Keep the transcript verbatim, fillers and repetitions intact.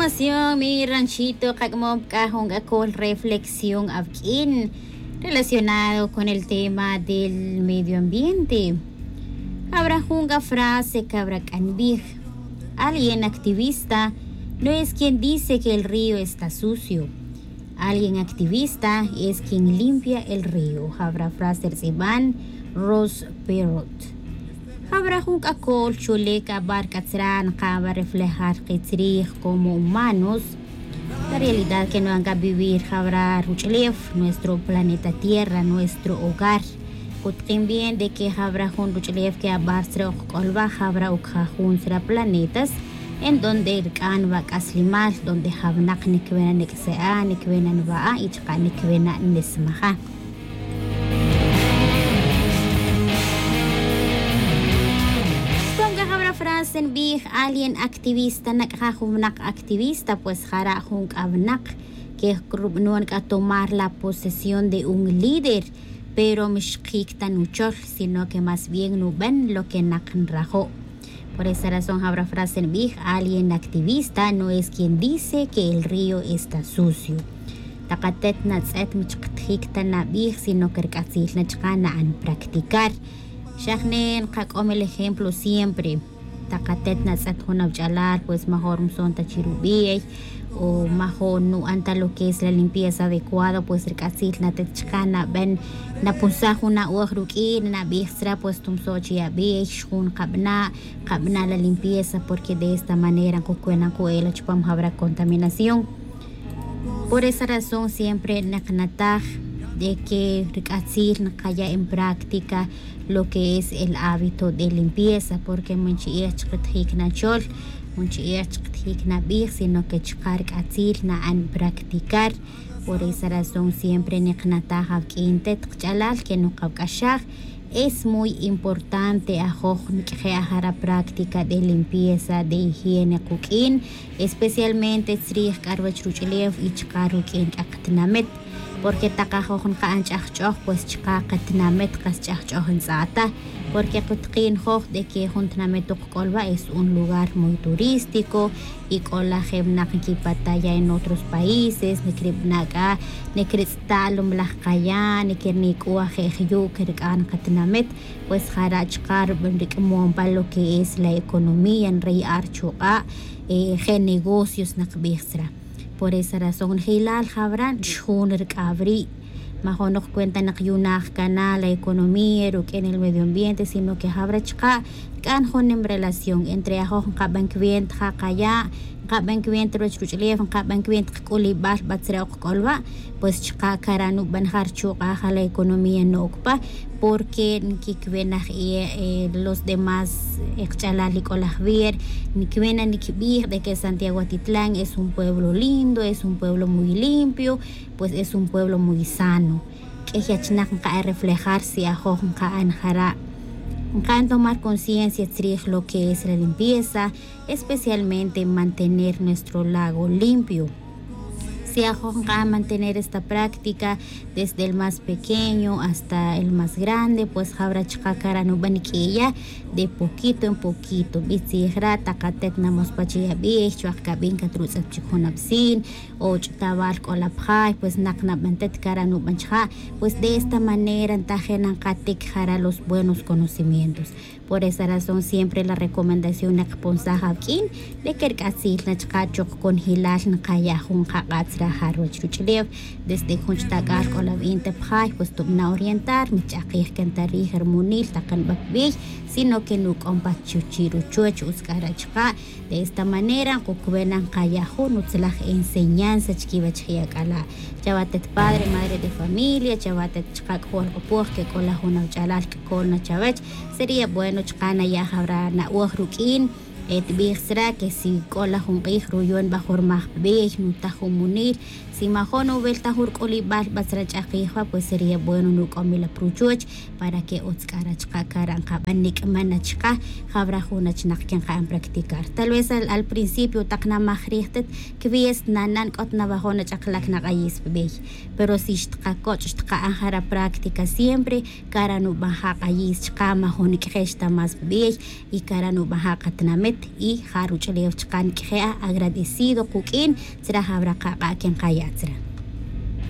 Nación mi ranchito, qak'amom c'a jun c'acol reflexión awq'uin relacionado con el tema del medio ambiente. Habrá jun c'a frase que habrá c'a nbij: alguien activista no es quien dice que el río está sucio. Alguien activista es quien limpia el río. Habrá frase rtz'iban Ross Perot. Habrá jun c'acol chule c'a bar c'atzra nka'n bar reflejar kitzrij como humanos. La realidad que no han c'a vivir habrá ruch'ulef nuestro planeta tierra, nuestro hogar. Cutkin bien de que habrá jun ruch'ulef que abar tzra ok c'olba, habrá ok jajun tzra planetas en donde rc'an wa c'aslimal, donde jawnak nicwena nic'se'a, nicwena nwa'a y chaka' nicwena nismaja. Con c'a habrá frase nbij: alguien activista, nac'ja jun wnak activista, pues jara' jun c'a wnak que rubanon c'a tomar la posesión de un líder, pero mixkic ta nuchol, sino que más bien nuban lo que nak nrajo'. Por esa razón habrá frase nbij: alguien activista no es quien dice que el río está sucio. Takatet natz'et michkatjic ta nabij, sino que rc'atzil na chaka' na'an practicar. Xajne nkac'om el ejemplo siempre. Takatet natz'et jun awach'alal, pues major mson ta chirubij, o major nu'an ta lo que es la limpieza adecuada, pues rc'atzil natet chaka' naban, napunsaj jun na'oj ruq'uin, nabij tzra pues tumso' chi abij, xjun kabana', kabana' la limpieza, porque de esta manera nkucwena nku'ela chupam jabra contaminación. Por esa razón siempre nqnataj de que rc'atzil nqaya' en práctica lo que es el hábito de limpieza, porque man chi'ij chqitjic nachol, man chi'ij chqitjic nabij, sino que chka' rc'atzil na'an practicar. Por esa razón siempre nqnataj awq'uin tet kach'alal que nukawac'axaj. Es muy importante ajoj niq'ueje' ajara' práctica de limpieza, de higiene kuq'uin, especialmente tzrij k'a ruwech ruch'ulef y chaka' ruq'uin k'a katinamit, porque tak ajoj nka'an ch'ajch'oj, pues chaka' katinamit kas ch'ajch'oj ntz'a' ta, porque kutkin joj de que jun tinamit tok k'olwa' es un lugar muy turístico, y k'ola je' winak nkipataya' en otros países, nikiribana' k'a, nikiritz'ta' lom laj kaya', nikirinik'uwa' je' jyu' kirk'an katinamit, pues jara' chaka' rubin rik'amom pa lo que es la economía, nray'a' rchuk'a', je' negocios nakbij tzra. Por esa razón njelal jabra' xjun rik'aw ri'. Majo' noj cuenta nak yu'naj cana la economía ruq'uin el medio ambiente, sino que jabra' chaka' rc'an jun nim relación entre ajoj nkaban cuenta ja kaya', nkaban cuenta ruwech ruch'ulef, nkaban cuenta kac'ulibal batzra' ok kac'olwa', pues chaka' cara' nuban ja rchuk'a' ja la economía no'oc pa, porque nquicwenaj los demás kach'alal ic'olaj ver, niquewena niquibij de que Santiago Atitlán es un pueblo lindo, es un pueblo muy limpio, pues es un pueblo muy sano. Q'uiy achnak nka'an reflejar si ajoj nka'an jara', nka'an tomar conciencia tzrij lo que es la limpieza, especialmente mantener nuestro lago limpio. Si ajoj nka'an mantener esta práctica desde el más pequeño hasta el más grande, pues jabra' chaka' cara' nuban q'uiya de poquito en poquito. Bitzij ra' takatet namospach yabij chuwaj cabin catrutz'et chic jun absin, o ch'utawal c'ola pjay, pues nak naban tet cara' nuban chaka'. Pues de esta manera ntajena nkatic jara' los buenos conocimientos. Por esa razón siempre la recomendación nakponsaj awq'uin de que rc'atzil na chaka' chok conjelal nkaya' jun kak'atz ra ja ruwech ruch'ulef. Desde jun chtak'al c'ola win te pjay, pues tubana' orientar, mich'akij can ta rij rimunil tak nba pibiy, sino que nuc'om pa chuchi' ruchuch, utz c'a ra' chaka'. De esta manera nkucubena nkaya' jun utzlaj enseñanza chiquiwech je' ac'ala'. Chawa tet padre, madre de familia, chawa tet chaka' c'ojol k'opoj que c'ola jun awach'alal c'acol na chawech, sería bueno chaka' naya' jabra' na'oj ruq'uin. Tibij tzra' que si c'ola jun k'ij ruyon ba jun rmaj pibiy, nutaj jun munil, si majo' nuweltaj jun rc'ulibal batzra' ch'akij ba, pues sería bueno nuc'om wi la pa ruchuch para que utz c'a ra' chaka' cara' nkaban, nic'man na chaka' jabra' jun achnak que nka'an practicar. Tal vez al principio tak namaj rij tet, quiwies nanan c'ot nawajo' na ch'akalac nak'ayis pibiy, pero si xtkacoch' xtka'an jara' práctica siempre, cara' nuban ja k'ayis chaka', majo' niq'uex ta más pibiy, y cara' nuban ja katinamit. Y ja ruch'ulew chaka' niq'ueje' agradecido kuq'uin tzra jawra kaba' que nqaya' tzra.